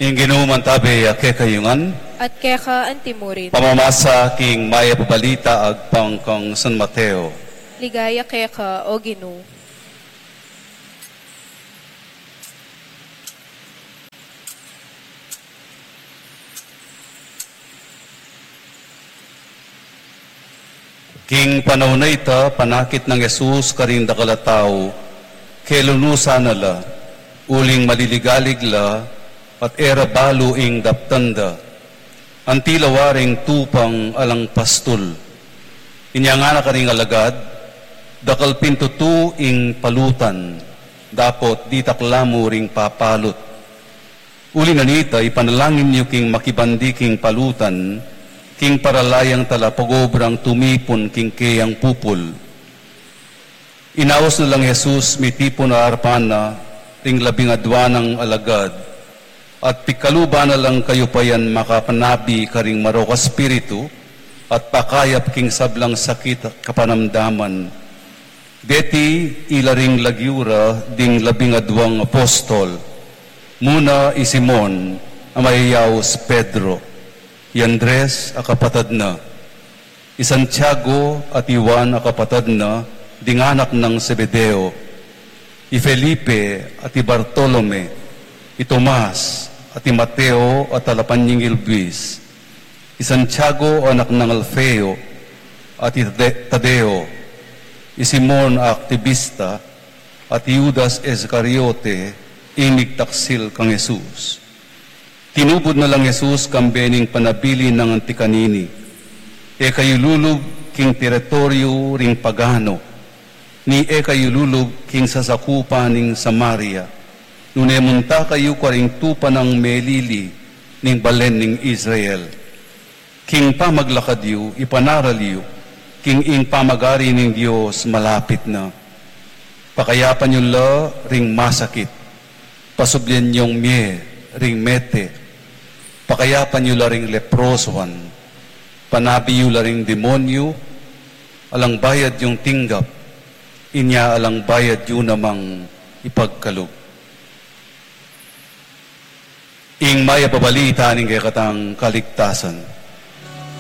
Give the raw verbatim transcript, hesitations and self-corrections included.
Ing Ginu mantabi ya kekayu ngan. At keka antimurin. Pamamasa king Mayap a Balita agpang kang San Mateo. Ligaya keka, O Ginu. King panaun a ita, panakit nang Jesus karing dakal a tau, kelunusan na la, uling maliligalig la, at e ra balu ing daptan da. Anti la waring tupang alang pastul. Inya ngana karing alagad, dakal pin tutu ing palutan, dapot ditak la mu ring papalut. Uli na nita, ipanalangin yu king makibandi king palutan, king paralayang talapagobrang tumipun king keyang pupul. Inaus na lang Jesus mitipun a arapan na ring labing adua nang alagad, at pikaluban na lang kayupayan makapanabi karing marok a spiritu, at pakayap king sablang sakit at kapanamdaman. Deti ila ring lagyu ra ding labing aduang apostol, muna i Simon a mayayaus Pedro, i Andres a kapatad na, i Santiago at i Juan a kapatad na ding anak nang Zebedeo, i Felipe at i Bartolome, i Tomas at i Mateo a talapanyingil buis, i Santiago anak nang Alfeo, at i Tade-, Tadeo, i Simon a aktibista, at i Judas Iscariote, ing migtaksil kang Jesus. Tinubud na lang Jesus kambe ning panabilin nang anti kanini, E kayu lulub king teritoryu ring pagano, ni e kayu lulub king sasakupan ning Samaria, nune munta kayu karing tupa nang melili ning balen ning Israel. King pamaglakad yu, ipanaral yu, king ing pamagari ning Dios malapit na. Pakayapan yu la ring masakit, pasublian yung mie ring mete, pakayapan yu la ring leprosoan, panabi yu la ring demonyu, alang bayad yung tinggap, inya alang bayad yu namang ipagkalub. Ing Mayap a Balita ning kekatang kaligtasan.